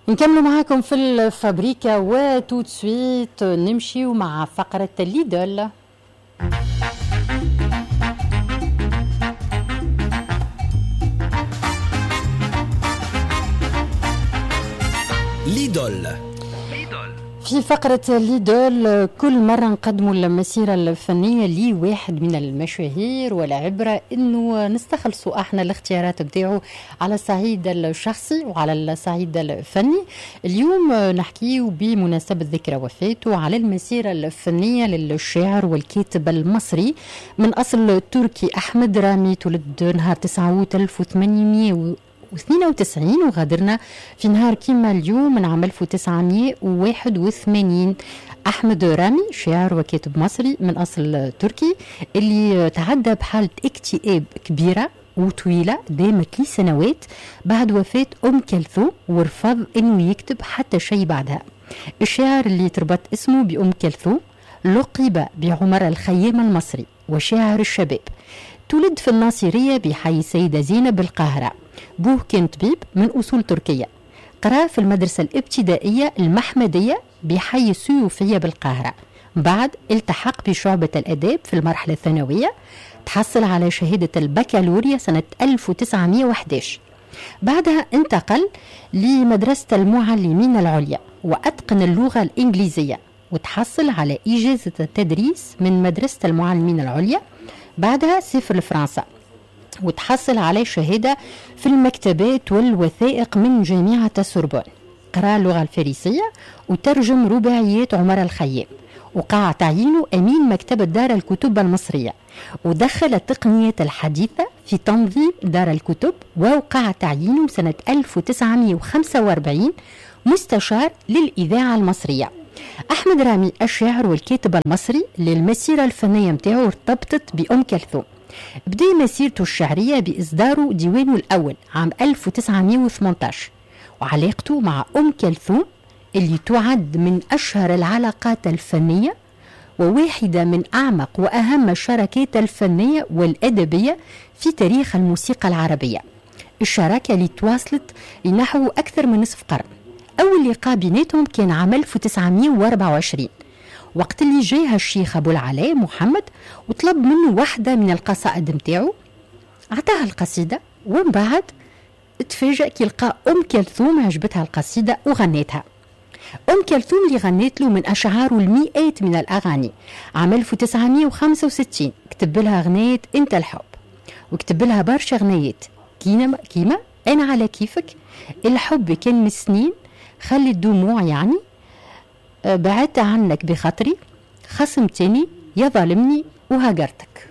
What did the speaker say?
نكملوا معاكم في الفابريكا و tout de suite نمشيو مع فقرة l'idole. l'idole. في فقرة l'idole كل مرة نقدموا المسيرة الفنية لواحد من المشاهير، والعبرة انه نستخلصوا احنا الاختيارات بتاعه على الصعيد الشخصي وعلى الصعيد الفني. اليوم نحكيه بمناسبة ذكرى وفاته على المسيرة الفنية للشاعر والكاتب المصري من أصل تركي أحمد رامي، تولد نهار 9 أوت 1892 وغادرنا في نهار كيما اليوم من عام 1981. أحمد رامي شاعر وكاتب مصري من أصل تركي اللي تعدى بحالة اكتئاب كبيرة وطويلة دامت لسنوات بعد وفاة أم كلثوم، ورفض أنه يكتب حتى شيء بعدها. الشاعر اللي تربط اسمه بأم كلثوم لقب بعمر الخيام المصري وشاعر الشباب. تولد في الناصرية بحي السيدة زينب بالقاهرة. بوه كان طبيب من أصول تركية. قرأ في المدرسة الابتدائية المحمدية بحي السيوفية بالقاهرة. بعد التحق بشعبة الأداب في المرحلة الثانوية، تحصل على شهادة البكالوريا سنة 1911. بعدها انتقل لمدرسة المعلمين العليا وأتقن اللغة الإنجليزية وتحصل على إجازة التدريس من مدرسة المعلمين العليا. بعدها سافر لفرنسا وتحصل على شهادة في المكتبات والوثائق من جامعة السوربون. قرأ اللغة الفارسية وترجم رباعيات عمر الخيام، وقع تعيينه أمين مكتبة دار الكتب المصرية، ودخل التقنيات الحديثة في تنظيم دار الكتب، ووقع تعيينه سنة 1945 مستشار للإذاعة المصرية. أحمد رامي الشاعر والكاتب المصري للمسيرة الفنية متاعه ارتبطت بأم كلثوم. بدأ مسيرته الشعرية بإصداره ديوانه الأول عام 1918، وعلاقته مع أم كلثوم اللي تعد من أشهر العلاقات الفنية وواحدة من أعمق وأهم الشراكات الفنية والأدبية في تاريخ الموسيقى العربية. الشراكة اللي تواصلت لنحو أكثر من نصف قرن. أول لقاء بيناتهم كان عام 1924 وقت اللي جاها الشيخ أبو العلاء محمد وطلب منه واحدة من القصائد متاعه. عطاها القصيدة ومن بعد تفاجأ كي لقى أم كلثوم عجبتها القصيدة وغنتها. أم كلثوم اللي غنت له من أشعاره المئات من الأغاني. عام 1965 كتب لها غنية أنت الحب، وكتب لها برشا غنيات كيما أنا على كيفك، الحب كان من سنين، خلي الدموع يعني، بعدت عنك بخاطري، خصمتني، يا ظالمني، وهاجرتك.